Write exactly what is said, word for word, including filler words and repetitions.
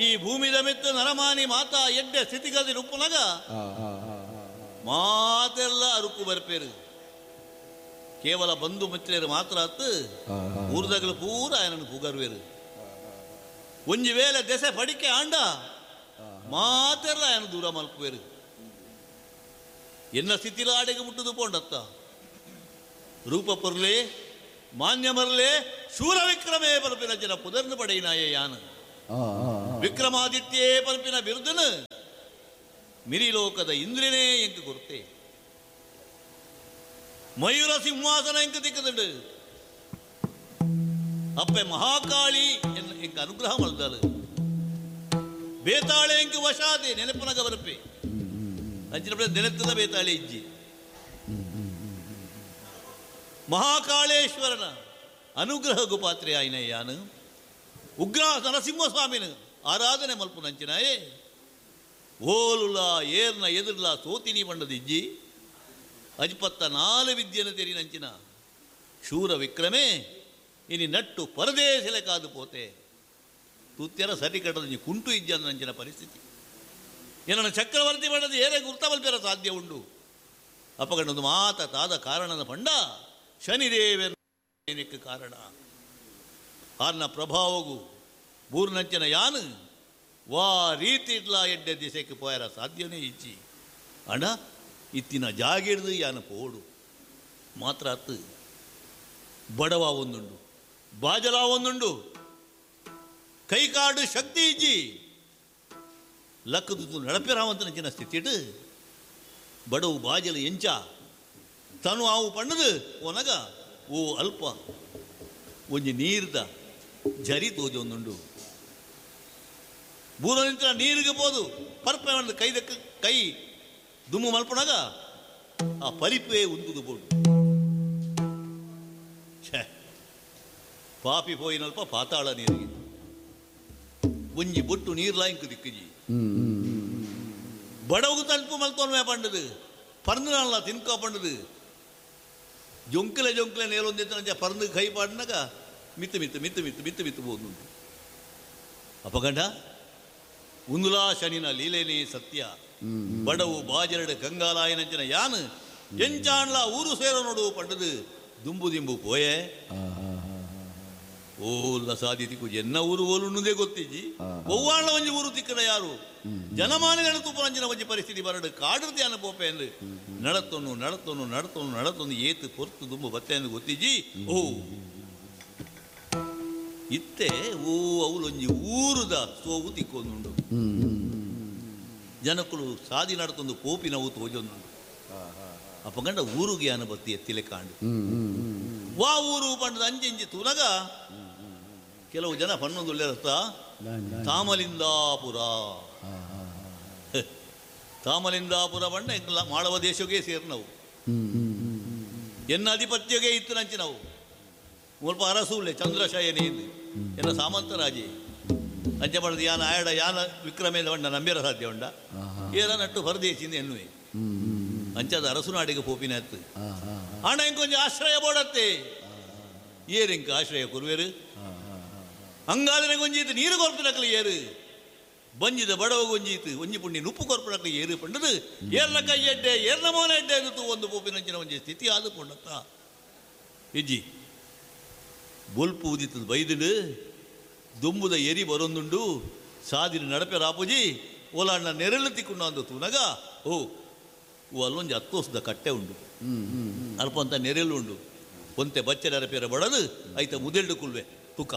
ಈ ಭೂಮಿದ ಮಿತ್ತ ನರಮಾನಿ ಮಾತಾ ಎಡ್ಡೆ ಸ್ಥಿತಿಗತಿ ಉಪ್ಪುನಗ ಮಾತೆಲ್ಲ ಅರುಕು ಬರ್ಪೇರು. ಕೇವಲ ಬಂಧು ಮಿತ್ರರು ಮಾತ್ರ ಅತ್ತು ಊರ್ದಗಳು ಪೂರ ಆಯನನ್ನು ಪುಗರ್ವೇರು. ಒಂಜಿ ವೇಳೆ ದೆಸೆ ಪಡಿಕೆ ಆಂಡ ಮಾತೆಲ್ಲ ಆಯನ ದೂರ ಮಲ್ಪುವೇರು. ಎನ್ನ ಸ್ಥಿತಿಲ ಆಡೆಗೆ ಮುಟ್ಟುದು ಪೋಂಡತ್ತ ರೂಪ ಪೊರ್ಲೆ ಮಾನ್ಯ ಮರಲೆ ಶೂರ ವಿಕ್ರಮೇ ಪಲ್ಪಿನ ಜನ ಪುದರ್ನು ಪಡೆಯಿನಾಯೇ ಯಾನ ವಿಕ್ರಮಾದಿತ್ಯೇ ಪಲ್ಪಿನ ಬಿರುದನು ಮಿರಿಲೋಕದ ಇಂದ್ರನೇ ಎಂಕು ಕೊರ್ತೆ. ಮಯೂರ ಸಿಂಹಾಸನ ಎಂಕು ತಿಕ್ಕದುಂಡು. ಅಪ್ಪೆ ಮಹಾಕಾಳಿ ಎಂಕ ಅನುಗ್ರಹ ಮಲ್ದಾಳು. ಬೇತಾಳೆ ಎಂಕು ವಶಾದೆ ನೆನಪುನಗ ಬರಪೆ ಅಂಚಿನ ನೆನೆತ್ತದ ಬೇತಾಳೆ ಇಜ್ಜಿ. ಮಹಾಕಾಳೇಶ್ವರನ ಅನುಗ್ರಹ ಗುಪಾತ್ರೆ ಆಯ್ನ ಯಾನು ಉಗ್ರ ನರಸಿಂಹಸ್ವಾಮಿನ ಆರಾಧನೆ ಮಲ್ಪುನಂಚಿನಾಯೇ ಓಲುಲ ಏರ್ನ ಎದುರ್ಲ ಸೋತಿನಿ ಬಂಡದಿಜ್ಜಿ ಅಜ್ಪತ್ತ ನಾಲು ವಿದ್ಯೆನ ತೆರಿನಂಚಿನ ಶೂರ ವಿಕ್ರಮೇ ಇನಿ ನಟ್ಟು ಪರದೇಶಲೆ ಕಾದು ಪೋತೆ ತೂತ್ಯರ ಸರಿ ಕಟ್ಟದ ಕುಂಟು ಇಜ್ಜಂಚಿನ ಪರಿಸ್ಥಿತಿ. ಏನನ್ನ ಚಕ್ರವರ್ತಿ ಬಣ್ಣದ ಏರೇ ಗುರ್ತಬಲ್ಪೆರ ಸಾಧ್ಯ ಉಂಡು. ಅಪ್ಪಗಂಡೊಂದು ಮಾತ ತಾದ ಕಾರಣದ ಪಂಡ ಶನಿದೇವನಕ್ಕೆ ಕಾರಣ ಆರ್ನ ಪ್ರಭಾವಗೂ ಬೂರ್ನಂಚಿನ ಯಾನು ವಾ ರೀತಿ ಇಡ್ಲ ಎಡ್ಡೆ ದಿಸೆಗೆ ಪೋಯರ ಸಾಧ್ಯನೇ ಇಚ್ಚಿ ಅಣ್ಣ ಇತ್ತಿನ ಜಾಗಿಡ್ದು ಯಾನು ಪೋಡು ಮಾತ್ರ ಅತ್ತು ಬಡವ ಒಂದುಂಡು ಬಾಜಲ ಒಂದುಂಡು ಕೈಕಾಡು ಶಕ್ತಿ ಇಜ್ಜಿ ಲಕ್ಕದು ನಡಪಿರಾವಂತನಂಚಿನ ಸ್ಥಿತಿಡು ಬಡವು ಬಾಜಲ ಎಂಚ ತನು ಆವು ಪಣ್ಣದು ಓನಗ ಓ ಅಲ್ಪ ಒಂಜಿ ನೀರ್ದ ಜರಿ ತೋಜೊಂದುಂಡು. ಬೂರ ನಿಂತ ನೀರಿಗೆ ಬೋದು ಪರ್ಪೆ ಒಂದು ಕೈದಕ್ಕೆ ಕೈ ದುಮ್ಮು ಮಲ್ಪಣಾಗ ಆ ಪರಿಪೆ ಉಂದುದು ಬೋಡು. ಛೇ ಪಾಪಿ ಪೋಯಿನಲ್ಪ ಪಾತಾಳ ನೀರಿಗೆ ಒಂಜಿ ಬೊಟ್ಟು ನೀರ್ಲಾ ಇಂಕು ದಿಕ್ಕಿಜಿ. ಬಡವು ತಲುಪು ಮಲ್ತೋನ್ಮೆ ಪಂಡದು ಪರ್ಂದು ತಿನ್ಕೋ ಪಂಡದು ಜೊಂಕಲೆ ಜೊಂಕಲೆ ನೇರೊಂದಿತ್ತು ಪರ್ಂದು ಕೈ ಪಾಡಿನಾಗ ಮಿತ್ತು ಮಿತ್ತು ಮಿತ್ತು ಮಿತ್ತು ಮಿತ್ತು ಮಿತ್ತು ಬೋದು. ಅಪಗಂಡ ಉಂದುಲಾ ಶನಿನ ಲೀಲೇನೇ ಸತ್ಯ. ಬಡವು ಬಾಜರಡು ಕಂಗಾಲಾಯನಂಚಿನ ಯಾನು ಎಂಚಾಣ್ಲ ಊರು ಸೇರೋ ನೋಡು ಪಂಡದು ದುಂಬು ದಿಂಬು ಪೋಯೆ ಓಲ್ಲ ಸಾಧ್ಯತೆಗೂ ಎನ್ನ ಊರು ಓಲುಣ್ಣದೇ ಗೊತ್ತಿಜ್ಜಿ. ಒವ್ವಾಳ ಒಂಜಿ ಊರು ತಿಕ್ಕಡ ಯಾರು ಜನಮಾನಿಗಳ ತುಪ್ಪರಂಜಿನ ಒಂಜಿ ಪರಿಸ್ಥಿತಿ ಬರಡು ಕಾಡು ಧ್ಯಾನ ಪೋಪೆ ಅಂದು ನಡತೊನ್ನು ನಡತೊನ್ನು ನಡತೊನ್ನು ನಡತೊಂದು ಏತು ಪೊರ್ತು ದುಂಬು ಬತ್ತೆ ಅಂದು ಗೊತ್ತಿಜ್ಜಿ. ಓ ಇತ್ತೆ ಓ ಅವಲೊಂಜಿ ಊರುದ ಸೋವು ತಿಕ್ಕೊಂದುಂಡು. ಜನಕ್ಕಳು ಸಾದಿ ನಡತೊಂದು ಪೋಪಿನವು ತೋಜೊಂದುಂಡು. ಅಪ್ಪಗಂಡ ಊರುಗೆ ಅನ ಬತ್ತಿ ಎತ್ತಿಲೆ ಕಾಂಡು ವಾ ಊರು ಪಂಡದ ಅಂಜಿಂಜಿ ತೂನಗ ಕೆಲವು ಜನ ಪನ್ನೊಂದುಳ್ಳೆರತ್ತ ತಾಮಲಿಂದಾಪುರ ತಾಮಲಿಂದಾಪುರ ಬಣ್ಣ ಎಂಕಲ ಮಾಳವ ದೇಶಕ್ಕೆ ಸೇರಿ ನಾವು ಎನ್ನ ಅಧಿಪತ್ಯಗೆ ಇತ್ತು ನಂಚಿನವು ಮುಲ್ಪ ಅರಸೂಲೆ ಚಂದ್ರಶಯನಿ ಎನ್ನ ಸಾಮಂತರಾಜೆ ಅಂಚೆ ಪಡೆದು ಯಾನ ಆಯಡ ಯಾನ ವಿಕ್ರಮೇದ ಬಣ್ಣ ನಂಬಿರ ಸಾಧ್ಯ ಉಂಡ ಏನ ನಟ್ಟು ಹೊರದೇಶಿಂದ ಎನ್ನುವೆ ಅಂಚಾದ ಅರಸುನಾಡಿಗೆ ಪೋಪಿನ ಅತ್ತು ಅಣ್ಣ ಇಂಕೊಂಚ ಆಶ್ರಯ ಬೋಡತ್ತೆ ಏರು ಇಂಕ ಆಶ್ರಯ ಕುರುವೇರು ಹಂಗಾದ್ರೆ ಗೊಂಜೀತು ನೀರು ಕೊರ್ಪಿನಕ್ಲು ಏರು ಬಂಜಿದ ಬಡವ ಗೊಂಜೀತು ಒಂಜಿ ಪುಣ್ಯ ನುಪ್ಪು ಕೊರ್ಪಿನಕ್ಲು ಏರು ಪಂಡದು ಏರ್ನ ಕೈ ಎಡ್ಡೆ ಏರ್ನ ಮೋನ ಎಡ್ಡೆ ಅಂದು ಒಂದು ಪೋಪಿನಂಚಿನ ಒಂಜಿ ಸ್ಥಿತಿ ಆದು ಪೊಂಡತ್ತ ಇಜ್ಜಿ ಬೊಲ್ಪು ಉದಿತದ ಬೈದುಡು ದುಂಬುದ ಎರಿ ಬರೊಂದುಂಡು ಸಾದಿನ ನಡಪೆ ರಾಪುಜಿ ಓಲಾಣ್ಣ ನೆರಳು ತಿಕ್ಕೊಂಡು ಅಂದು ತೂನಗ ಓ ಓ ಅಲ್ಲೊಂಜಿ ಹತ್ತೋಸದ ಕಟ್ಟೆ ಉಂಡು ಅಲ್ಪ ಅಂತ ನೆರಳು ಉಂಡು ಒಂತೆ ಬಚ್ಚೆ ನೆರಪೇರ ಬಡದು ಐತ ಮುದೆಲ್ಡು ಕುಲ್ವೆ ತುಕ.